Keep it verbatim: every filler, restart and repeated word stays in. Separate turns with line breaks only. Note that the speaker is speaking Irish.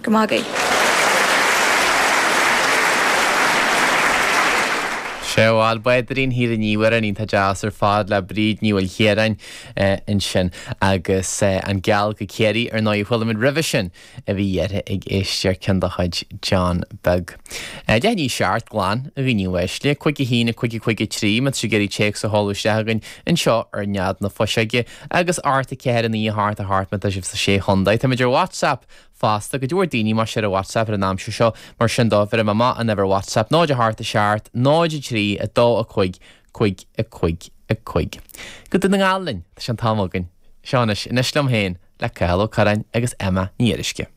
Go maith agaibh.
Sea bhuel, Báirín Thír an Iubhair, amhrán iontach deas ar fad le Bríd Ní Mhaoilchiaráin ansin agus An Geall go Ciarraí ar ndóigh a chuala muid roimhe sin a bhí uirthi ag éisteacht ceann de chuid John Beag. Deich i ndiaidh a seacht glan, a dhaoine uaisle, cúig a haon, a cúig a cúig a trí, má tá sibh ag iarraidh téacs a sheoladh isteach chugainn anseo ar Nead na Fuiseoige agus ocht a ceathair a naoi a hocht a hocht má tá sibh sa Sé Chontae. Táimid ar WhatsApp fosta. Go leor daoine más ea ar WhatsApp ar an aimsir seo, mar sin dó, bheir mé amach an uimhir WhatsApp, náid a hocht a seacht, náid a trí, a dó a cúig, cúig a cúig a cúig. Go Dún na nGall linn, tá sé an t-am againn. Seo anois, Anois Liom Féin, le Cathal Ó Curráin agus Emma Ní Fhuaruisce.